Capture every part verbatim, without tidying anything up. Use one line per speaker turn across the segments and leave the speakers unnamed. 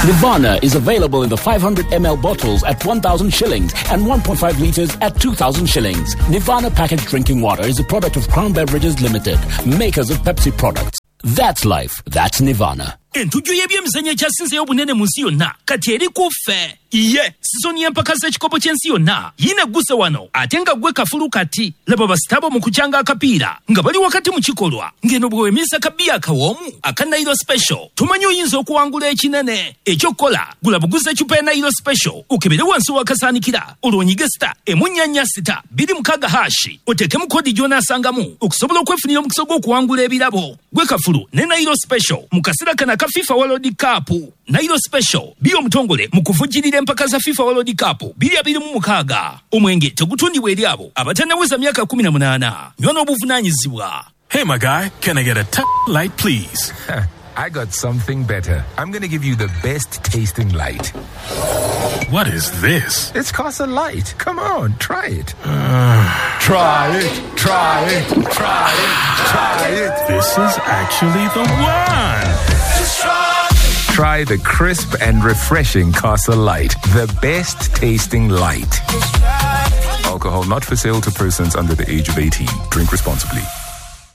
Nirvana is available in the five hundred milliliter bottles at one thousand shillings and one point five liters at two thousand shillings. Nirvana packaged drinking water is a product of Crown Beverages Limited, makers of Pepsi products. That's life. That's Nirvana.
Entujjo y'ebyemizannyo ekyasinzeeyo obunene mu nsi yonna kati eri ku ffe. Iye sizoni y'empaka z'ekikopo ky'ensi yonna yiina egguse wano ate nga ggwe kafulu kati. Laba basitabo mu kukyanga akapiira nga bali wakati mu kikolwa ng'eno bwe weemiriza kabiya akawoomu aka Nairo Special tumanyi oyinza okuwangula ekinene. Ekyokukola gula buguza eccupa ya Nairo Special okebere wansi w'akasaanikira olwo onyige sita emu nnya nnya sita bbiri mukaaga hashi oteekemu kodi gy'onaasangamu okusobola okwefunira omukisa gw'okuwangula ebirabo. Gwe kafulu ne Nairo Special mu kaseera kano aka FIFA World Cup. Nairo Special biyo omutongole mu kuvujjirira empaka za FIFA World Cup biri abiri mu mukaaga. Omwenge tegutundibwa eri abo abatannaweza myaka kumi na munaana. Nywa n'obuvunaanyizibwa.
Hey my guy, can I get a t- light please?
I got something better. I'm gonna give you the best tasting light.
What is this?
It's Casa Light. Come on, try it.
Uh,
try it, try it, try it, try it.
This is actually the one.
Try the crisp and refreshing Casa Light, the best tasting light. Alcohol not for sale to persons under the age of eighteen. Drink responsibly.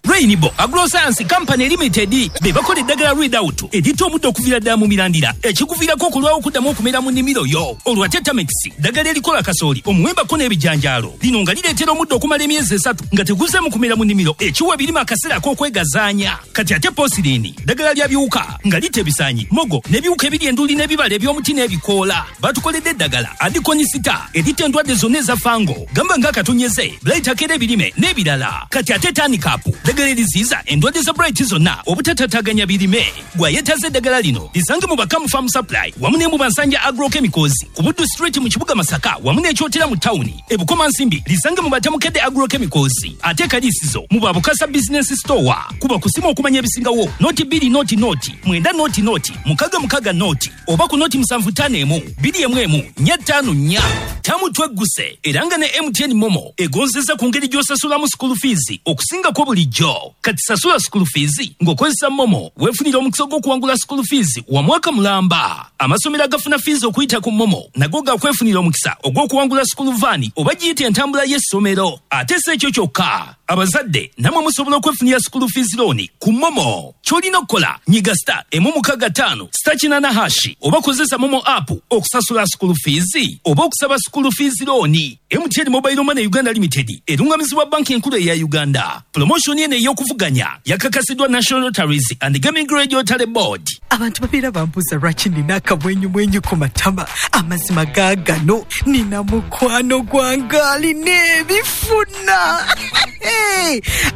Rainbow Agroscience Company Limited be bakola eddagala Readout eritta omuddo okuviira ddala mu mirandira ekikuviirako okulwawo okuddamu okumera mu nnimiro yo. Olwa Tetamix ddagala erikola kasooli omuwembako n'ebijanjaalo lino nga lireetera omuddo okumala emyezi esatu nga teguzeemu kumera mu nnimiro ekiwa ebirime akaseera ak'okwegazaanya. Kati ate Posirini ddagala lya biwuka nga litta ebisaanyi mogo n'ebiwuka ebiri enduli n'ebibala eby'omuti n'ebikoola. Batukoledde eddagala Adikonisita eritta endwadde zonna eza fango gamba ng'akatonyeze blight akera ebirime n'ebirala. Kati ate Tanikapu ddagala eriziyiza endwadde za blight zonna obutatataganya birime. Gwayetaze eddagala lino lisange mu Bakamu Farm Supply wamu ne mu Bansanja Agrochemicals ku Buddu Street mu kibuga Masaka wamu n'Ekyotera mu tawuni. E Bukomansimbi lisange mu Batamukedde Agrochemicals ate Kalisizo mu Babukasa Business Store. Kuba kusimu okumanya ebisingawo noti bbiri noti noti mwenda noti noti mukaga mukaga noti oba ku noti musanvu ttaano emu bbiri emu emu nnya ttaano nnya. Tamu twegguse era nga ne M T N Momo egonzeza ku ngeri gy'osasulamu school fees okusingako bulijjo. Kati sasula school fees ng'okozesa Momo weefunira omukisa gw'okuwangula school fees wa mwaka mulamba. Amasomero agafuna fees okuyita ku Momo nago gakwefunira omukisa ogw'okuwangula school van oba giyite entambula y'essomero. Ate si ekyo kyokka, abazadde nammwe musobola okwefunira school fees loan ku Momo. Ky'olina okukola nyiga star emu mukaaga ttaano star kinaana hashi oba kozesa Momo app okusasula school fees oba okusaba school fees loan. M T N Mobile Money Uganda Limited erungamizibwa banki enkulu eya Uganda. Promotion eno ey'okuvuganya yakakasiddwa National Lotteries and Gaming Regulatory Board.
Abantu babeera bambuuza lwaki nina akamwenyumwenyu ku matama. Amazima gaagano nina mukwano gwange alina ebifuna.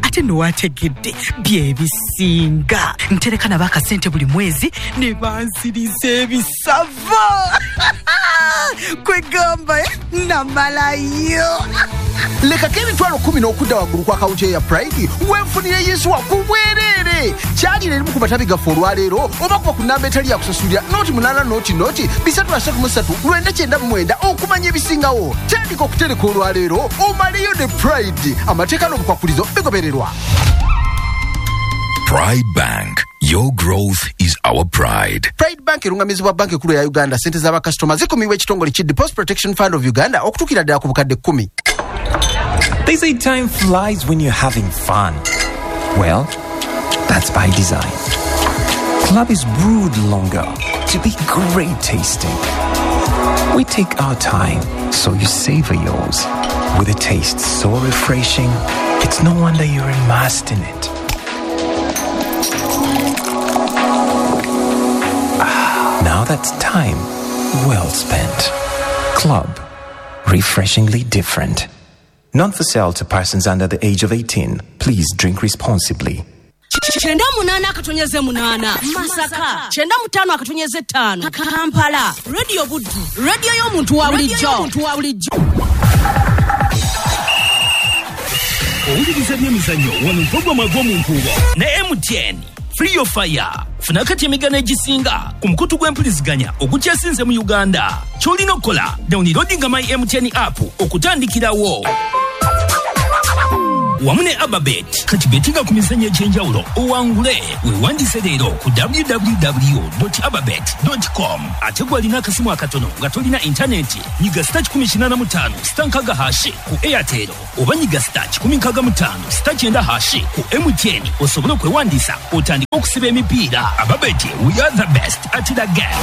Ate nno waategedde bye bisinga. Ntereka nabo akasente buli mwezi ne bansiriza ebisava. Kwegamba namalayo.
Lekako emitwalo kumi n'okudda waggulu ku akawunti ya Pride wenfunire yinsuwa ku bwereere. Kyalira erimu ku matabi gaffe olwaleero oba kuba ku namba etali yakusasulira noti munaana noti noti bisatu asatu mu ssatu lwenda kyenda mu mwenda okumanya ebisingawo. Tandika okutereka olwaleero omaleyo ne Pride. Amateeka n'obukwakulizo bigobererwa.
Pride Bank. Your growth is our pride.
Pride Bank erungamizibwa banki enkulu ya Uganda. Sente z'abakasitoma zikumibwa ekitongole ki Deposit Protection Fund of Uganda okutuukira ddala ku bukadde kkumi.
They say time flies when you're having fun. Well, that's by design. Club is brewed longer to be great tasting. We take our time so you savor yours. With a taste so refreshing, it's no wonder you're immersed in it. Ah, now that's time well spent. Club, refreshingly different. Not for sale to persons under the age of eighteen. Please drink responsibly.
Kyenda munaana akatonyeze munaana Masaka, kyenda mutaano akatonyeze ttaano Kampala. Radio Buddu, radio y'omuntu wa bulijjo.
Owuliriza ebyemizannyo wano mpogwa mwagw'omu nkuubo ne M T N Free Your Fire. Funa kati emigano egisinga ku mukutu gw'empuliziganya ogukyasinze mu Uganda. Ky'olina okukola downloadinga my M T N app okutandikirawo. Wamu ne Ababet kati betinga ku mizannyo egy'enjawulo owangule. Weewandiise leero ku w w w ababet com. Ate gw'alina akasimu akatono nga tolina intaneti, nyiga star kikumi kinaana mu ttaano star nkaaga hash ku Airtel oba nyiga star kikumi nkaaga mu ttaano star kyenda hash ku M T N osobole okwewandiisa otandike okusiba emipiira. Ababet, we are the best at the game.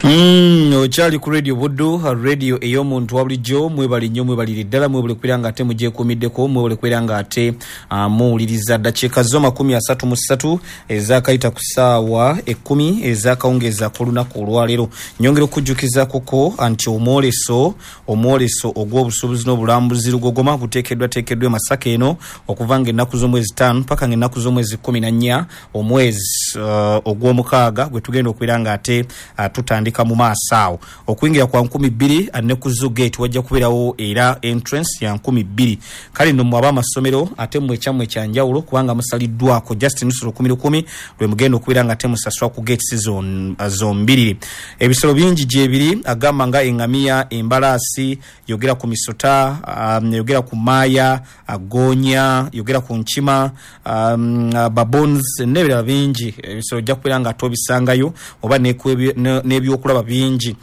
Mm, okyali ku Radio Buddu, radio ey'omuntu wa bulijjo. Mwebali nnyo, mwebalire ddala, mwebale kubeera nga ate mugyekuumiddeko, mwebale kubeera nga ate uh, muwuliriza. Ddakiika zo makumi asatu mu ssatu ezakayita ku ssaawa ekkumi ezakawungeeza k'olunaku olwaleero. Nyongera okujjukiza kuko nti omwoleso omwoleso ogw'obusuubuzi n'obulambuzi Lugogoma guteekeddwateekeddwa e Masaka eno okuva nga ennaku z'omwezi ttaano paka nga ennaku z'omwezi kumi na nnya omwezi uh, ogw'omukaaga gwe tugenda okubeera nga ate uh, tutandika mu maaso awo. Okuyingira kwa nkumi bbiri, ne ku zoo gate wajja kubeerawo era entrance ya nkumi bbiri. Kale nno mmwe ab'amasomero ate mmwe ekyammwe kyanjawulo kubanga musaliddwako just nusu lukumi lukumi lwe mugenda okubeera nga temusasula ku gates zombiriri. Ebisolo bingi gyebiri, agamba nga eŋŋamiya, embalaasi, yogera ku misota, um, yogera ku maaya, gonya, yogera ku nkima, um, baboons n'ebirala bingi. Ebisolo ojja kubeera nga tobisangayo oba n'ebyokulaba bingi.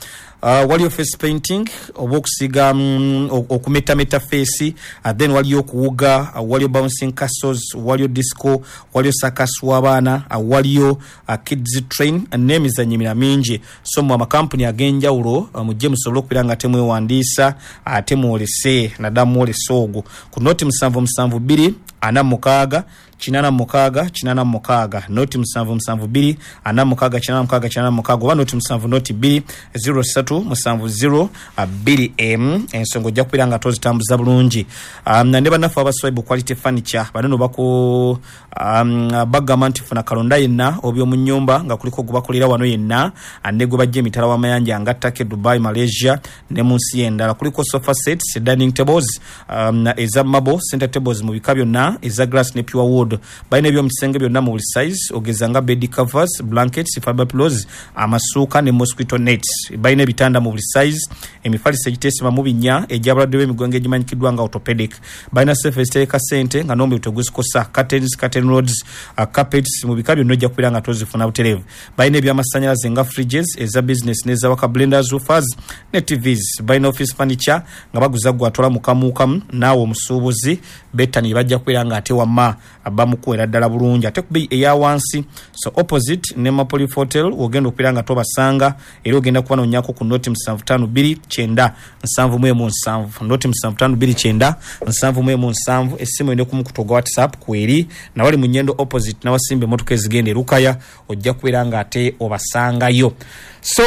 Uh, waliyo face painting oba okusiga, mm, okumetameta face, uh, then waliyo okuwuga, uh, waliyo bouncing castles, waliyo disco, waliyo circus w'abaana, uh, waliyo uh, kids train uh, n'emizannyo emirala mingi. So mu amakampuni ag'enjawulo uh, mujje musobole okubeera nga temwewandiisa ate mwolese, naddala mwolese ogwo ku noti musanvu musanvu bbiri ana mukaaga kinaana mukaaga kinaana mukaaga, noti musanvu musanvu bbiri ana mukaaga kinaana mukaaga kinaana mukaaga oba noti musanvu noti bbiri zero ssatu musanvu zero bbiri emu. Ensonga ojja kubeera nga tozitambuza bulungi. um, ne bannaffe abaswaibu Quality Furniture bano bako um, bagamba nti funa kalonda yenna oby'omu nnyumba nga kuliko gubakolera wano yenna ne gwe bajja emitala w'amayanja nga Turkey, Dubai, Malaysia ne mu nsi endala. Kuliko sofa sets, dining tables um, eza marble, center tables mu bika byonna eza glass ne pure wood. Balina eby'omu kisenge byonna mu buli size, ogeza nga bed covers, blankets, fiber pillows, amasuuka ne mosquito nets. Balina ebitanda mu buli size, emifaliso egiteesema mu binnya egy'abalwadde b'emigongo egimanyikiddwa nga orthopedic. Balina sefe ezitereka ssente nga n'omubiri teguzikosa, curtains, curtain rods, uh, carpets mu bika byonna ojja kubeera nga tozifuna butereevu. Balina ebyamasannyalaze nga fridges eza business n'ezawaka, blenders, woofers ne T Vs. Balina office furniture nga baguza gwatwala mukamuukamu naawe omusuubuzi bettani bajja kubeera nga ate wamma bamukuwera ddala bulungi ate ku bbeeyi eya wansi. So opposite ne Mapoli Hotel ogenda okubeera nga tobasanga, era ogenda kubanoonyako ku noti musanvu ttaano bbiri kyenda nsanvu mu emu nsanvu, noti musanvu ttaano bbiri kyenda nsanvu mu emu nsanvu. Essimu ene ku mukutu ogwa WhatsApp kweri nawali mu Nyendo opposite nawasimba emmotoka ezigenda e Lukaya, ojja kubeera nga ate obasangayo. So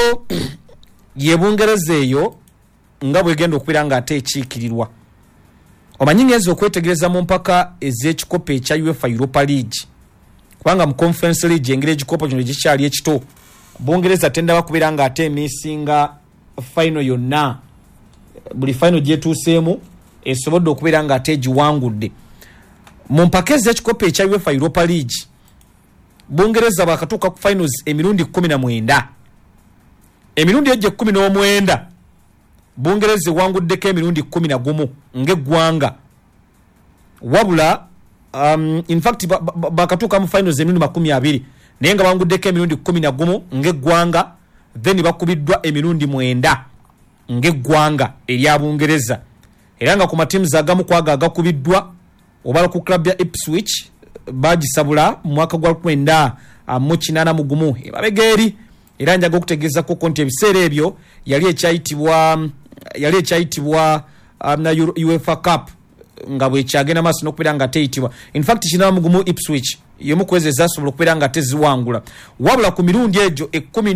ye Bungereza eyo nga bwegenda okubeera nga ate ekiikirirwa. Omanyi ngenza okwetegereza mu mpaka ez'ekikopo ekya UEFA Europa League, kubanga mu Conference League engeri ekikopo kino gikyali ekito, Bungereza tendaba kubeera nga ate emisinga final yonna. Buli final gyetuuseemu esobodde okubeera nga ate egiwangudde. Mu mpaka ez'ekikopo ekya UEFA Europa League, Bungereza bakatuuka ku finals emirundi kkumi na mwenda. Emirundi egyo ekkumi n'omwenda, Bungereza ewanguddeko emirundi kkumi na gumu ng'eggwanga. Wabula um, in fact bakatuuka mu finals emirundi makumi abiri, naye nga banguddeko emirundi kkumi na gumu ng'eggwanga, then bakubiddwa emirundi mwenda ng'eggwanga erya Bungereza. Era nga ku matiimu agamu kwago agakubiddwa, obala ku club ya Ipswich, bagisabula mu mwaka gwa lukumi mwenda mu kinaana mu gumu emabega eri. Era njaga okutegeeza koko nti ebiseera ebyo yali ekyayitibwa yali ekyayitibwa um, na UEFA Cup nga bwekyagenda maaso n'okubeera nga teyitibwa. In fact kinaana mu gumu Ipswich y'emu ku ezo ezasobola okubeera nga teziwangula. Wabula ku mirundi egyo ekkumi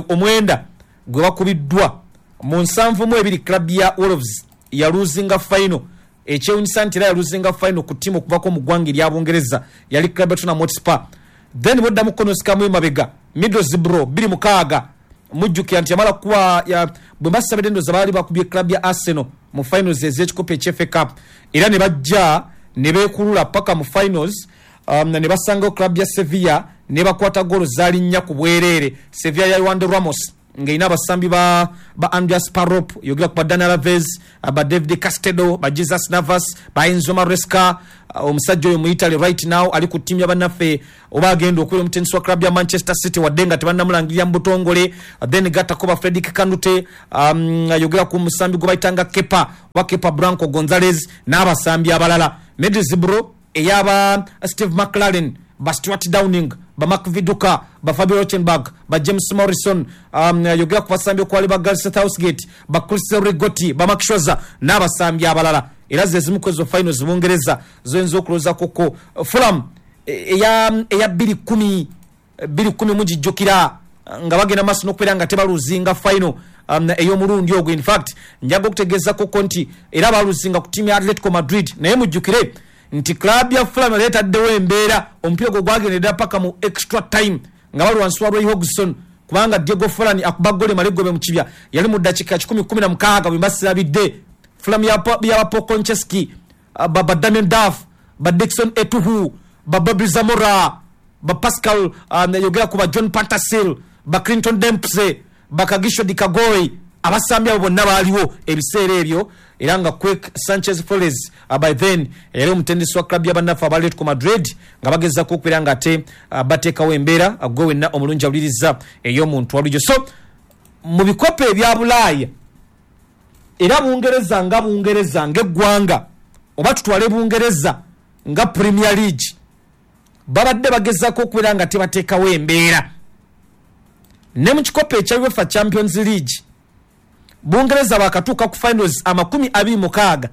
omwenda gwe bakubiddwa, mu nsanvu mu ebiri club ya Wolves yaluzinga final. Ekyewunyisa nti era yaluzinga final ku ttiimu okuvako mu ggwanga erya Bungereza, yali club ya Tottenham Hotspur. Then boddamu konosikamu emabega, Middlesbrough bbiri mukaaga, mujjukira nti yamala kuba bwe mbasabidde ndowooza baali bakubye club ya Arsenal mu finals ez'ekikopo ekya F A Cup, era ne bajja ne beekulula paka mu finals, um, ne basangawo club ya Sevilla ne bakwata golo zaali nnya ku bwereere, Sevilla ya Juande Ramos. ng'erina abasambi ba, ba Andreas Parop, yogera ku ba Daniel Alves, ba David Castedo, ba Jesus Navas, ba Enzo Maresca. Omusajja oyo mu Italy right now ali ku ttiimu y'abannaffe oba agenda okubeera omutendesi wa club ya Manchester City, wadde nga tebannamulangirira mu butongole. Then gattako ba Frederick Kanute, um, yogera ku musambi gwe bayitanga Kepa oba Kepa Branco Gonzalez n'abasambi abalala. Middlesbrough ey'aba Steve McLaren, ba Stuart Downing, ba Mark Viduka, ba Fabio Rothenberg, ba James Morrison, um, yogera ku basambi okwali ba Gareth Southgate, ba Chris Rigotti, ba Mark Schwarzer n'abasambi abalala. Era ze zimu ku ezo finals Bungereza zoyinza okulowoozaako ko. Fulham eya eya bbiri kumi bbiri kumi mugijjukira nga bagenda maaso n'okubeera nga tebaluzinga final um, ey'omulundi ogwo. In fact njaga okutegeezako ko nti era baluzinga ku ttiimu ya Atletico Madrid, naye mujjukire nti club ya Fulham yali etaddewo embeera, omupiira gwe gwagendera paka mu extra time nga bali wansi wa Roy Hodgson, kubanga Diego Forlan akuba ggoli malegobe mu kibya yali mu ddakiika kikumi kumi na mukaaga bwe mbasirabidde. Fulham ya ya Paul Konchesky, ba, ba Damien Duff, ba Dickson Etuhu, ba Bobby Zamora, ba Pascal, um, yogera ku ba John Pantasil, ba Clinton Dempsey, ba Kagisho Dikagoi, abasambi abo bonna baaliwo ebiseera ebyo. Era nga Quick Sanchez Flores uh, by then yali omutendesi wa club y'abannaffe aba Atletico Madrid nga bagezaako okubeera nga ate uh, bateekawo embeera gwe wenna omulungi awuliriza ey'omuntu wabulijjo. So mu bikopo ebya Bulaaya era Bungereza nga Bungereza ng'eggwanga, oba tutwale Bungereza nga Premier League, babadde bagezaako okubeera nga tebateekawo embeera. Ne mu kikopo ekya UEFA Champions League Bungereza bakatuuka ku finals amakumi abiri mukaaga,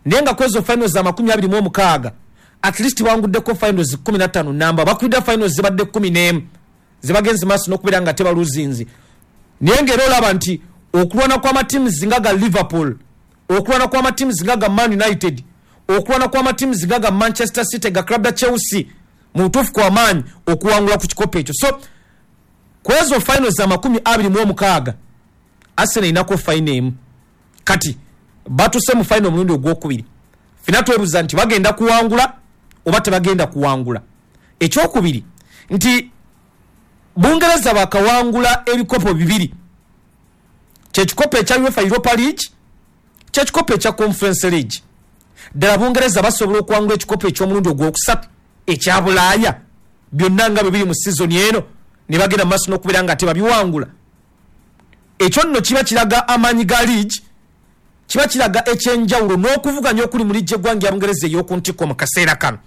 naye nga kwezo finals amakumi abiri mu omukaaga at least banguddeko finals kumi na ttaano namba, bakwidda finals zibadde kumi n'emu zibagenze maaso n'okubeera nga tebaluzinzi. Naye ng'era olaba nti okulwana kw'amatiimu nga ga Liverpool, okulwana kw'amatiimu nga ga Man United, okulwana kw'amatiimu nga ga Manchester City, ga club ya Chelsea mu butuufu kw'amaanyi okuwangula ku kikopo ekyo. So kwezo finals amakumi abiri mu omukaaga Arsenal inako final emu. Kati batuse mu final omulundi ogwokubiri, fina twebuuza nti bagenda kuwangula oba tebagenda kuwangula. Ekyokubiri nti Bungereza bakawangula ebikopo bibiri, kyekikopo ekya UEFA Europa League, kyekikopo ekya Conference League. Ddala Bungereza basobola okuwangula ekikopo eky'omulundi ogwokusatu ekya Bulaaya byonna nga bwe biri mu sizoni eno, ne bagenda maaso n'okubeera nga tebabiwangula. Ekyo nno kiba kiraga amaanyi ga league, kiba kiraga ekyenjawulo n'okuvuganya okuli mu liigi y'eggwanga ya Bungereza ey'oku ntikko mu kaseera kano.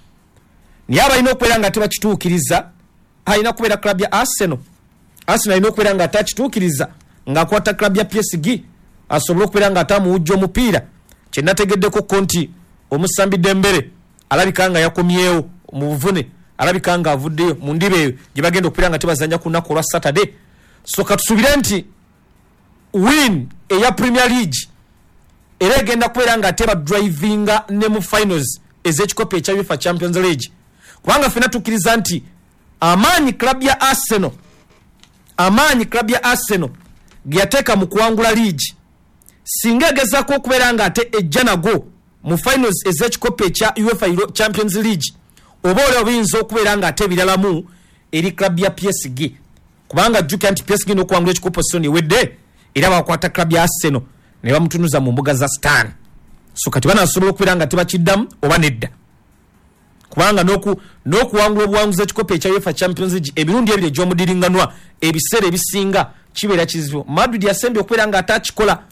Naye abalina okubeera nga tebakituukiriza alina kubeera club ya Arsenal. Arsenal alina okubeera nga atakituukiriza ng'akwata club ya P S G asobole okubeera nga atamuwujja omupiira. Kye nategeddeko ko nti omusambi Dembele alabika nga yakomyewo mu buvune, alabika nga avuddeyo mu ndiba eyo gye bagenda okubeera nga tebazannya ku lunaku olwa Saturday. So katusuubire nti win eya Premier League era egenda kubeera nga teba drivinga ne mu finals ez'ekikopo ekya UEFA Champions League, kubanga ffenna tukkiriza nti amaanyi club ya Arsenal, amaanyi club ya Arsenal ge yateeka mu kuwangula league, singa egezaako okubeera nga ate ejja nago mu finals ez'ekikopo ekya UEFA Champions League, oba olwo biyinza okubeera nga ate ebiralamu eri club ya P S G, kubanga jjukira nti P S G n'okuwangula ekikopo soni ewedde era bakwata club ya Arsenal ne bamutunuza mu mbuga za Stan. So kati banasobola okubeera nga tebakiddamu oba nedda, kubanga n'oku n'okuwangula obuwanguzi ekikopo ekya UEFA Champions League emirundi ebiri egy'omudiringanwa ebiseera ebisinga kibeera kizibu. Madrid yasembye okubeera nga atakikola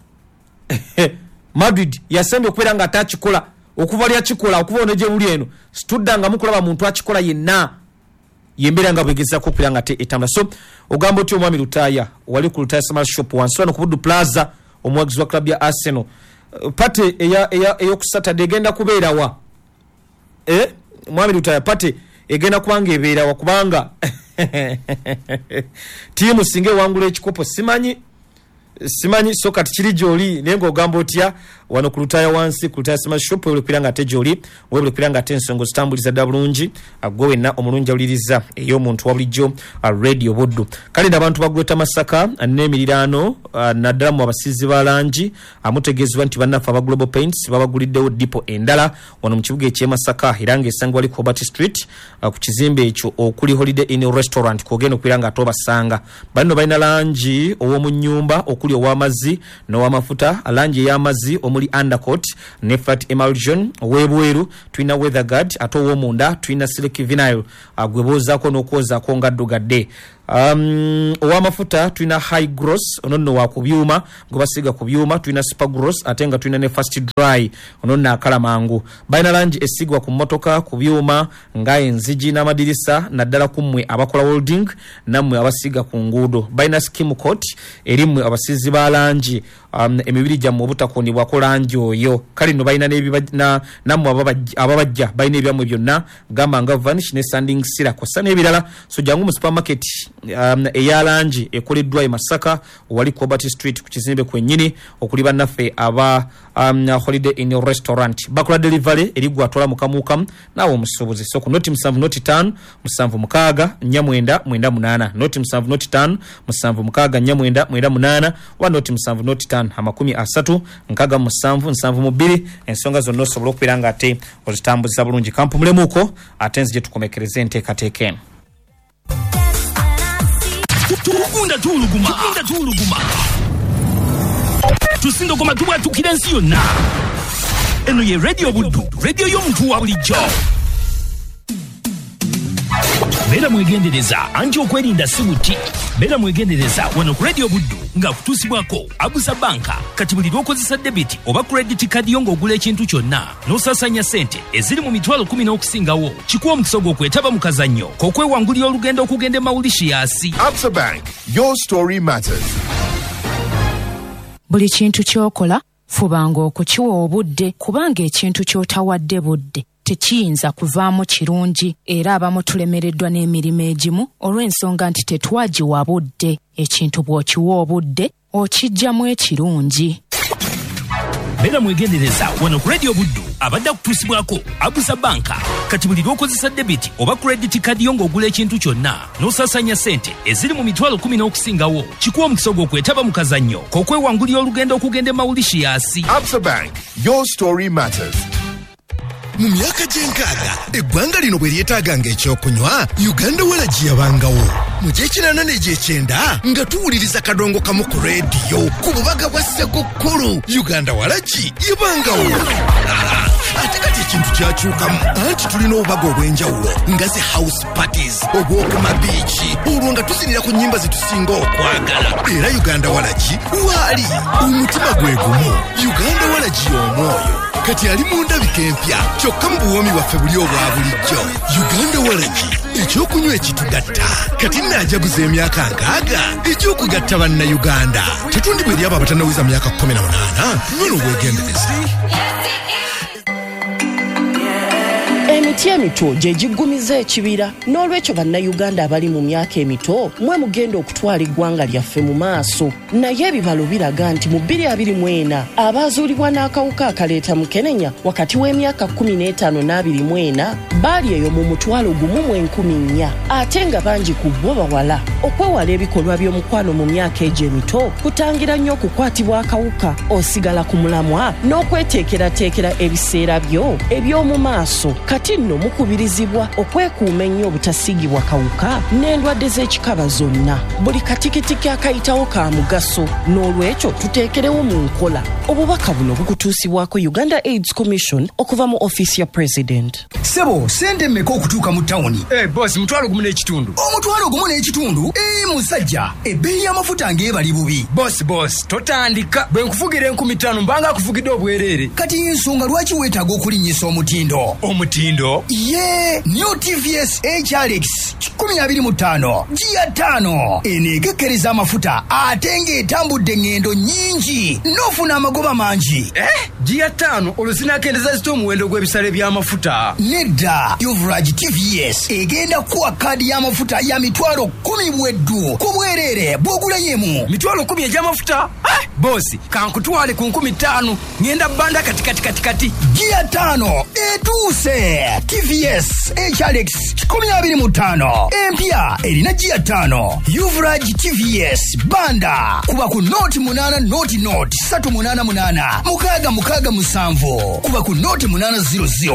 Madrid yasembye okubeera nga atakikola okuva lyakikola okuva ono gye buli eno situdda mukulaba muntu akikola yenna, yembeera nga bwegezaako okubeera nga te etambula. So ogamba otya omwami Lutaaya wali ku Lutaaya Smart Shop wansi wano ku Buddu Plaza, omuwagizi wa club ya Arsenal, pate ey'oku Saturday egenda kubeera wa? Eh, mwami Lutaaya, pate egenda kubanga ebeera wa? Kubanga ttiimu singa ewangula ekikopo simanyi simanyi. So kati kiri gy'oli naye ng'ogamba otya Wano ku Lutaaya wansi ku Lutaaya Smash Shop webale kubeera nga ate gy'oli, webale kubeera nga ate ensonga ozitambuliza ddala bulungi. Gwe wenna omulungi awuliriza ey'omuntu wa bulijjo Radio Buddu. Kale nno abantu ba Greater Masaka n'emiriraano, naddala mu abasiizi ba langi, amutegeezebwa nti bannaffe aba Global Paints babaguliddewo dipo endala wano mu kibuga eky'e Masaka, era ng'esangibwa wali ku Hobart Street ku kizimbe ekyo okuli Holiday Inn Restaurant, kw'ogenda okubeera nga ate obasanga. Banno balina langi ow'omu nnyumba okuli ow'amazzi n'ow'amafuta, langi ey'amazzi omuli undercoat ne flat emulsion, ow'ebweru tulina weather guard, ate ow'omunda tulina silk vinyl gwe boozaako n'okwozaako nga ddugadde. Um, ow'amafuta tulina high gross, ono nno wa ku byuma gwe basiiga ku byuma, tulina super gross, ate nga tulina ne fast dry, ono nno akala mangu. Balina langi esiigwa ku mmotoka, ku byuma nga enzigi n'amadirisa, naddala ku mmwe abakola welding nammwe abasiiga ku nguudo. Balina skim coat eri mmwe abasiizi ba langi, um, emibiri gyammwe obutakoonebwako langi oyo. Kale nno balina nammwe ababajja balina ebyammwe byonna, gamba nga vanish ne sanding sealer kw'ossa n'ebirala. So jangu mu supermarket um, eya langi ekoleddwa e Masaka wali ku Hobart Street ku kizimbe kwennyini okuli bannaffe aba um, Holiday Inn Restaurant. Bakola delivery eri gwe atwala mu kamuukamu naawe omusuubuzi. So ku noti musanvu noti ttaano musanvu mukaaga nnya mwenda mwenda munaana, noti musanvu noti ttaano musanvu mukaaga nnya mwenda mwenda munaana, oba noti musanvu noti ttaano amakumi asatu nkaaga mu musanvu nsanvu mu bbiri. Ensonga zonna osobola okubeera nga ate ozitambuza bulungi. Kampumulemuko ate nzije tukomekereze enteekateeka eno.
Tugunda tuwuluguma, tugunda tuwuluguma, tusindogoma tubwatukira ensi yonna. Eno ye Radio Buddu, radio y'omuntu wa bulijjo. Beera mwegendereza anti okwerinda si buti. Beera mwegendereza wano ku Radio Buddu nga kutuusibwako Abusa Banka. Kati buli lw'okozesa debit oba credit card yo ng'ogula ekintu kyonna n'osaasaanya ssente eziri mu mitwalo kumi n'okusingawo, kikuwa omukisa ogw'okwetaba mu kazannyo k'okwewangulira olugendo okugenda e Mauritius.
Absa Bank, your story matters.
Buli kintu ky'okola fubanga okukiwa obudde, kubanga ekintu ky'otawadde budde tekiyinza kuvaamu kirungi. Era abamu tulemereddwa n'emirimu egimu olw'ensonga nti tetwagiwa budde. Ekintu bw'okiwa obudde okiggyamu ekirungi.
Beera mwegendereza wano ku Radio Buddu abadde akutuusibwako Abusa Banka. Kati buli lw'okozesa debit oba credit card yo ng'ogula ekintu kyonna n'osaasaanya ssente eziri mu mitwalo kumi n'okusingawo, kikuwa omukisa ogw'okwetaba mu kazannyo k'okwewangulira olugendo okugenda e Mauritius.
Absa Bank, your story matters.
Mu myaka gy'enkaaga eggwanga lino bwe lyetaaganga ekyokunywa, Uganda Waragi yabangawo. Mu gy'ekinaana n'egyekyenda nga tuwuliriza kadongo kamu ku rediyo ku bubaga bwa Ssekukkulu, Uganda Waragi yabangawo. Ate kati ekintu kyakyukamu, anti tulina obubaga obw'enjawulo nga zi house parties, obw'oku mabiiki, olwo nga tuzinira ku nnyimba ze tusinga okwagala. Era Uganda Waragi waali omutima gwe gumu. Uganda Waragi y'omwoyo kati ali mu ndabika empya, kyokka mu buwoomi bwaffe buli obwa bulijjo. Uganda Waragi, ekyokunywa ekitugatta. Kati nnaajaguza emyaka nkaaga ekyokugatta Bannayuganda. Tetundibwa eri abo abatannaweza myaka kkumi na munaana. Nywa n'obwegendereza.
Emiti emito gye giggumiza ekibira. N'olwekyo Bannayuganda abali mu myaka emito mwe mugenda okutwala eggwanga lyaffe mu maaso. Naye ebibalo biraga nti mu bbiri abiri mu ena abaazuulibwa n'akawuka akaleeta mukenenya wakati w'emyaka kkumi n'etaano n'abiri mu ena baali eyo mu mutwalo gumu mu enkumi nnya, ate nga bangi ku bo bawala. Okwewala ebikolwa by'omukwano mu myaka egyo emito kutangira nnyo okukwatibwa akawuka, osigala ku mulamwa n'okweteekerateekera ebiseera byo eby'omu maaso. Kati nno mukubirizibwa okwekuuma ennyo obutasiigibwa kawuka n'endwadde z'ekikaba zonna. Buli katikitiki akayitawo ka mugaso, n'olwekyo tuteekerewo mu nkola. Obubaka buno bukutuusibwako Uganda AIDS Commission okuva mu ofiisi ya President.
Ssebo, ssente mmeka okutuuka mu tawuni?
Eh, boss, mutwalo gumu n'ekitundu.
Omutwalo gumu n'ekitundu? Eh, musajja, ebbeeyi y'amafuta ng'ebali bubi.
Boss, boss, totandika. Bwe nkuvugira enkumi ttaano mbanga akuvugidde obwereere.
Kati ensonga lwaki weetaaga okulinnyisa omutindo?
Omutindo?
Ye, New T V S H R X kikumi abiri mu ttaano, giya ttaano. Eno ekekkereza amafuta ate ng'etambudde engendo nnyingi n'ofuna amagoba mangi.
Eh, giya ttaano olwo zinaakendeeza zitya omuwendo gw'ebisale by'amafuta?
Nedda, Yuvraj T V S egenda kuwa kaadi y'amafuta ya mitwalo kkumi bweddu ku bwereere bw'ogulayo emu.
Mitwalo kkumi egy'amafuta? Eh, Bosi, kankutwale ku nkumi ttaano, ŋŋenda bbanda kati kati kati kati.
Giya ttaano etuuse. T V S H R X kikumi abiri mu ttaano empya erina giya ttaano. Uvraj T V S Banda, kuba ku noti munaana noti noti satu munaana munaana mukaaga mukaaga musanvu, kuba ku noti munaana zero zero.